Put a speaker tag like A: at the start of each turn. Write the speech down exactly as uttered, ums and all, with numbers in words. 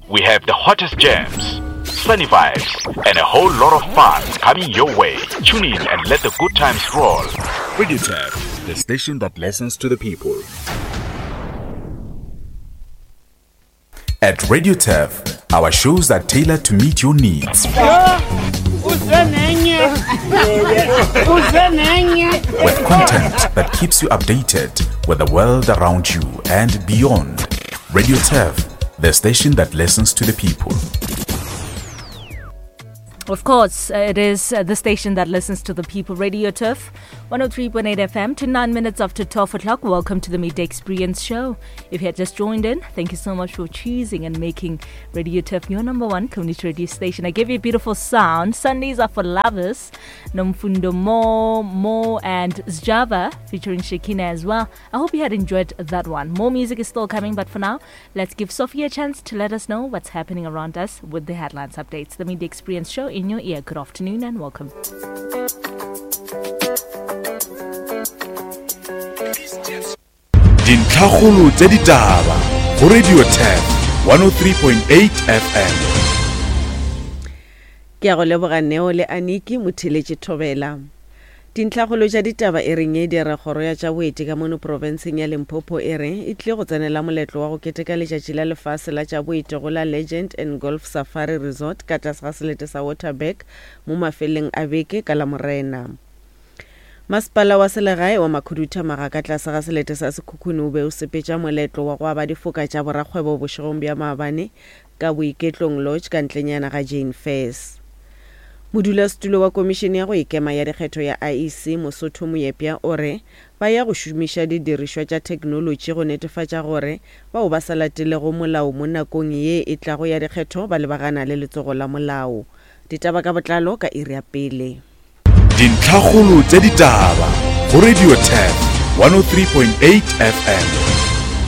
A: We have the hottest jams, sunny vibes, and a whole lot of fun coming your way. Tune in and let the good times roll. Radio Turf, the station that listens to the people.
B: At Radio Turf, our shows are tailored to meet your needs. With content that keeps you updated with the world around you and beyond. Radio Turf, the station that listens to the people.
C: Of course, uh, it is uh, the station that listens to the people. Radio Turf, one oh three point eight F M, to nine minutes after twelve o'clock. Welcome to the Midday Experience Show. If you had just joined in, thank you so much for choosing and making Radio Turf your number one community radio station. I give you a beautiful sound. Sundays are for lovers. Nomfundo Mo, Mo and Sjava featuring Shekina as well. I hope you had enjoyed that one. More music is still coming, but for now, let's give Sophie a chance to let us know what's happening around us with the headlines updates. The Midday Experience Show in your ear. Good afternoon and welcome.
B: Dintlhakgolo tša ditaba go Radio Turf one oh three point eight F M.
D: Ke a go leboga Neo le Aniki Motheletše Thobela. Dintlhakgolo tša ditaba e reng e dira kgoro ya tša boeti ka mono profenseng ya Limpopo e re e tlile go tsenela moletlo wa go keteka letšatši la lefase la tša boeti go la Legend and Golf Safari Resort ka tlase ga selete sa Waterberg mo mafeleng a beke ka Lamorena. Masepala wa selegae wa Makhuduthamaga ka tlase ga selete sa Sekhukhune o be o sepetša moletlo wa go aba difoka tša borakgwebo bošegong bja maabane ka Boiketlong Lodge ka ntlenyana ga Jane Fairs. Modulasetulo wa komišene ya go ikema ya dikgetho ya I E C Mosotho Moepya o re ba ya go šomiša didirišwa tša theknolotši go netefatša gore bao ba sa latelego molao mo nakong ye e tlago ya dikgetho ba lebagana le letsogo la molao. Ditaba ka botlalo ka iri ya pele.
B: Dintlhakgolo tša ditaba go Radio Turf one oh three point eight F M.